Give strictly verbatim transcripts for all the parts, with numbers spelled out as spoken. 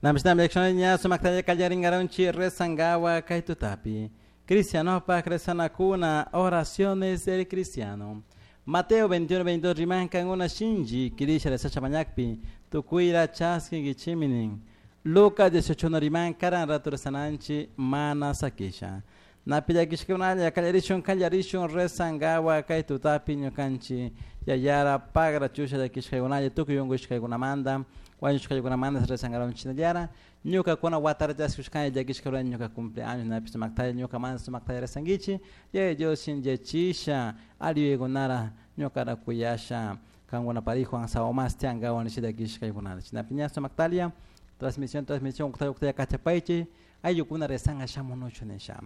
Namishnami llakishunalla sumaktalla kallarinkaronchi rezangawa kay tutapi. Cristianopak rezanakuna oraciones del cristiano. Mateo veintiuno veintidós rimankan una shinji kirisha rezacha mañakpi tukuyra chaskinkichiminin. Lucas dieciocho riman karan rato rezananchi mana sakisha. Napi llakishkunalla kallarishun kallarishun rezangawa kay tutapi ñukanchi yayara pagra chusha llakishkaykunalla tukuy unkushkaykunamanta wañushkaykunamanta rezangaronchinallara ñukakuna watara chaskushkani llakishkaykunalla ñuka cumpleaños napi sumaktalla ñukamanta sumaktalla rezankichi yaya Dios shinllechisha aliyuykunara ñukara kuyasha kankuna parijo ansawa mas tiankawan nisha llakishkaykunata chinapi ña sumaktalla transmisión transmisión uktalla uktalla kachapaychi ayllukuna rezanga shamunuchu nisha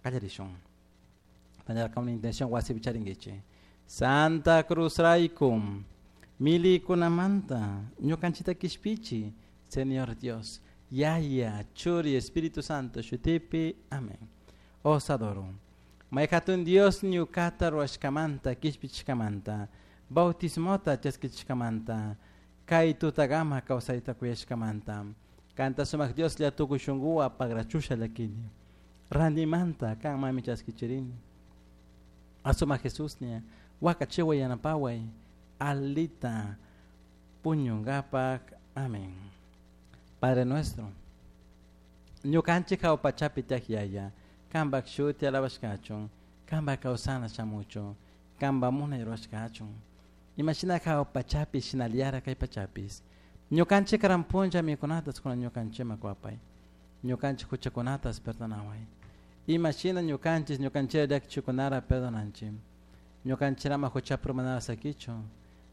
kallarishun tañarka una intención wasipi charinkichi Santa Cruz raykum milikunamanta ñukanchita kishpichi Señor Dios Yaya Churi Espíritu Santo shutipi amén. Os adoro. Mayhatun Dios ñukata ruwashkamanta kishpichishkamanta bautismota chaskichishkamanta kay tutagama kawsayta kuyashkamanta kanta sumak Dios lla tukuy shunkuwa pagrachusha llakini randimanta kan mami chaskichirini asumak Jesús ña wakachiway yanapaway alita puñunkapak amén. Padre nuestro ñukanchik hawa pachapi tiyak yaya kanpak shuti alabashkachun kanpak kawsana shamuchun kanpak munay rurashkachun imashina hawa pachapi shinallara kay pachapis ñukanchik karan punlla mikunatas kunan ñukanchikman kuwapay ñukanchik huchakunatas perdonaway imashina ñukanchik ñukanchik llakichikunara perdonanchik ñukanchirama huchapi manara sakichun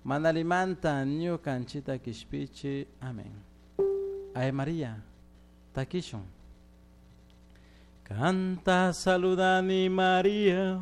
manalimanta ñukanchita kishpichi amén. Ave María takishun. Canta saludani María.